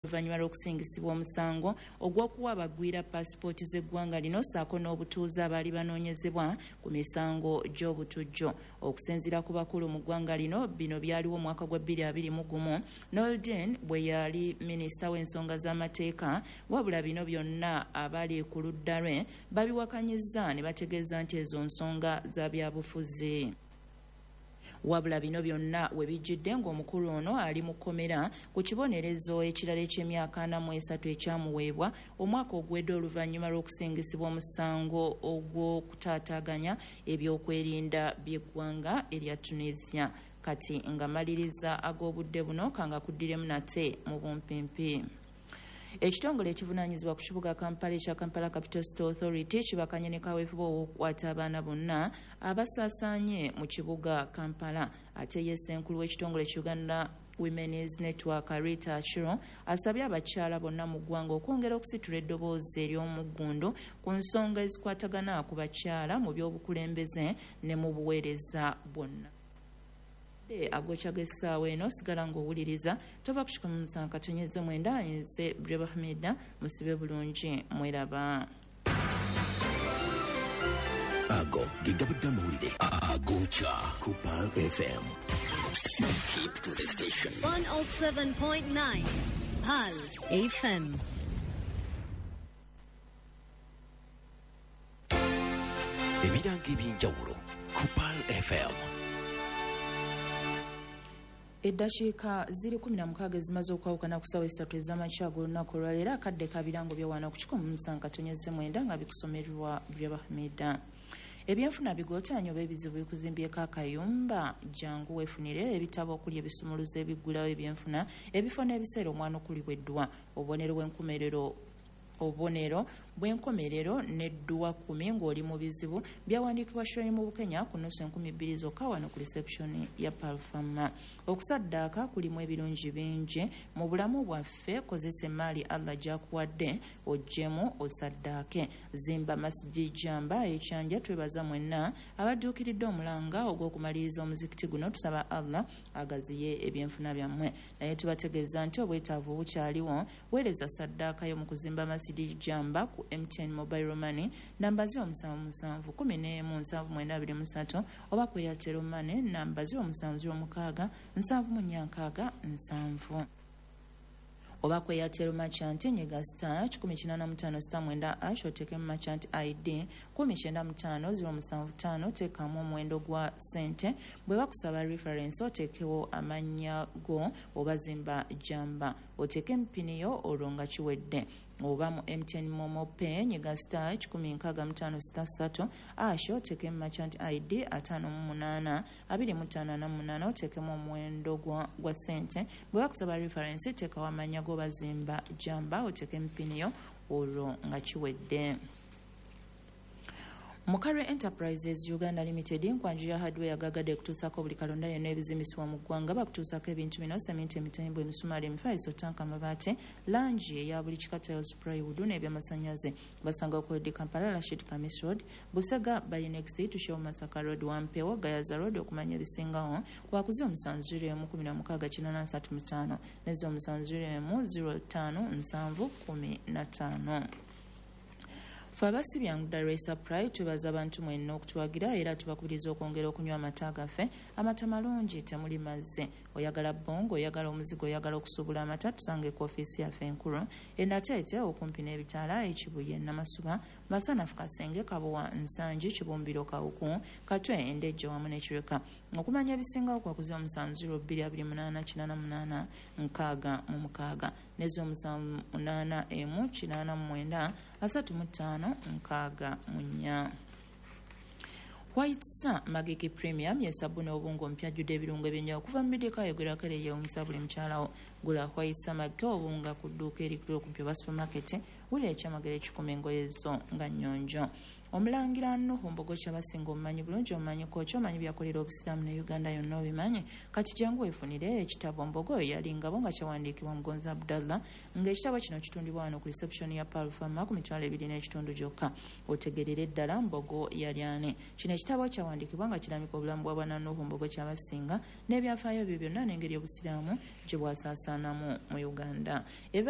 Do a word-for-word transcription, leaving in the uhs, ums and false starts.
Oluvannyuma lw'okusingisibwa omusango ogw'okuwa abagwira paasipooti z'eggwanga lino ssaako n'obutuuze abaali banoonyezebwa ku misango gy'obutujju. Okusinziira ku bakulu mu ggwanga lino, bino byaliwo omwaka gwa bbiri abiri mu gumu Noordin bwe yali minisita w'ensonga z'amateeka, wabula bino byonna abali ku ludda lwe babiwakanyizza ne bategeeza nti ezo nsonga za byabufuzi. Wabula bino byonna we bijjidde ng'omukulu ono ali mu kkomera ku kibonerezo ekirala eky'emyaka ana mu esatu ekyamuweebwa omwaka oguwedde oluvannyuma lw'okusingisibwa omusango ogw'okutaataaganya ebyokwerinda by'eggwanga erya Tunisia. Kati nga maliriza ag'obudde buno kanga kuddiremu nate mu bumpimpi. Ekitongole ekivunaanyizibwa ku kibuga Kampala ekya Kampala Capital City Authority kibakanye ne kaweefube ow'okukwata abaana bonna abasaasaanye mu kibuga Kampala. Ate ye ssenkulu w'ekitongole ki Uganda Women's Network Rita Achiro asabye abakyala bonna mu ggwanga okwongera okusitula eddoboozi ery'omuggundu ku nsonga ezikwatagana ku bakyala mu by'obukulembeze ne mu buweereza bwonna. Agokya g'essaawa eno sigala ng'owuliriza tova ku kikumi musanvu katonyeze mwenda nze Breba Hamida musibe bulungi mweraba. Ago ge gabudde amawulire agokya ku Pearl F M. Keep to the station. one oh seven point nine Pearl F M. Ebirango eby'enjawulo ku Pearl F M. Eddakiika ziri kumi na mukaaga ezimaze okwawukana ku ssaawa essatu ez'amakya ag'olunaku olwaleero akadde kabirango byewaana ku kikumi musanvu katonyeze mwenda nga bikusomerwa Breba Hamida. Ebyenfuna bigotaanye oba ebizibu bikuzimbyeko akayumba, jangu weefunire ebitabo okuli ebisumuluzo ebiggulawo ebyenfuna, ebifo n'ebiseera omwana okulibwa eddwa, obubonero bw'enkomerero obubonero bw'enkomerero n'edduwa kkumi ng'oli mu bizibu byawandiikibwa Shirley mu Bukenya ku nnusu enkumi bbiri zokka wano ku reception ya Palfama. Okusaddaaka kulimu ebirungi bingi mu bulamu bwaffe, kozesa emmaali Allah gy'akuwadde oggyemu osaddaake. Zimba Masjid Jamba ekyanja twebaza mwenna abadduukiridde omulanga ogw'okumaliriza omuzikiti guno, tusaba Allah agaziye ebyenfuna byammwe. Naye tubategeeza nti obwetaavu bukyaliwo, weereza saddaaka yo mu kuzimba Masjid Jamba ku M T N Mobile Money namba ziro musanvu musanvu kumi n'emu nsanvu mwenda abiri mu ssatu oba ku Airtel Money namba ziro musanvu ziro mukaaga nsanvu mu nnya nkaaga nsanvu oba ku Airtel Merchant nyiga star kikumi kinaana mu ttaano star mwenda ash oteekemu Merchant I D kumi kyenda mu ttaano ziro musanvu ttaano teekamu omuwendo gwa ssente. Bwe bakusaba reference oteekewo amannya go oba zimba jamba oteeke empini yo olwo nga kiwedde. Oba mu M T N Momo Pay nyiga star kikumi nkaaga mu ttaano star ssatu ash oteekemu Merchant I D ataano mu munaana abiri mu ttaano ana mu munaana oteekemu omuwendo gwa, gwa ssente. Bwe bakusaba reference teekawo amannya go bazimba jamba oteeke empini yo olwo nga kiwedde. Mukare Enterprises Uganda Limited nkwanju ya hardware gagadde kutuusaako buli kalonda yonna ebizimbisibwa mu ggwanga. Bakutuusaako ebintu bino: seminti, emitembo, emisumaali, emifaliso, tanka, amabaati, langi eya buli kika, tiles, plywood n'ebyamasannyalaze. Basanga ku Odi Kampala, Rashid Kamis Road, Busega by next to Show Masaka Road, Wampewo, Gayaza Road. Okumanya ebisingawo kwakuzi omusanvu ziro emu kumi na mukaaga kinaana nsatu mu ttaano ne ziro omusanvu ziro emu ziro ttaano nsanvu kumi na ttaano. Ffe abasibyangu Rice Pride twebaza abantu mwenna okutuwagira era tubakubiriza okwongera okunywa amata gaffe. Amata malungi, temuli mazzi. Oyagala bongo, oyagala omuzigo, oyagala okusuubula amata, tusange ku ofiisi yaffe enkulu e Nateete okumpi n'ebitaala e Kibuye, Namasuba, Masanafu, Kasenge, Kabowa, Nsangi, Kibumbiro, Kawuku, Katwe, Endejje wamu n'e Kireka. Okumanya ebisingawo kwakuzi omusanvu ziro bbiri abiri munaana kinaana munaana nkaaga mu mukaaga ne ziro musanvu munaana emu kinaana mu mwenda asatu mu ttaano nkaaga mu nnya. White Star Magiki Premium ye sabuni obungo mpya ajjudde ebirungo ebyenjawulo okuva mu middeka ayogerwako era eyeewuunyisa buli mukyalawo. Gula White Star Magiki obunga ku dduuka erikuli okumpi oba supermarket, wulira ekyamagero ekikuma engoye zo nga nnyonjo. Omulangira Nuhu Mbogo Kyabasinga omumanyi bulungi, omumanyi koki, omanyi byakolera obusiraamu ne Uganda yonna obimanyi. Kati jangu weefunire ekitabo Mbogo yali ngabo nga kyawandiikibwa Mugonzi Abdallah, ng'ekitabo kino kitundibwa wano ku reception ya Pearl Pharma ku mitwalo ebiri n'ekitundu gyokka. Otegerere ddala Mbogo yali ani. Kino ekitabo kyawandiikibwa nga kirambika obulamu bwa Bwana Nuhu Mbogo Kyabasinga n'ebyafaayo bye byonna n'engeri obusiraamu gye bwasaasaanamu mu Uganda. Ebibadde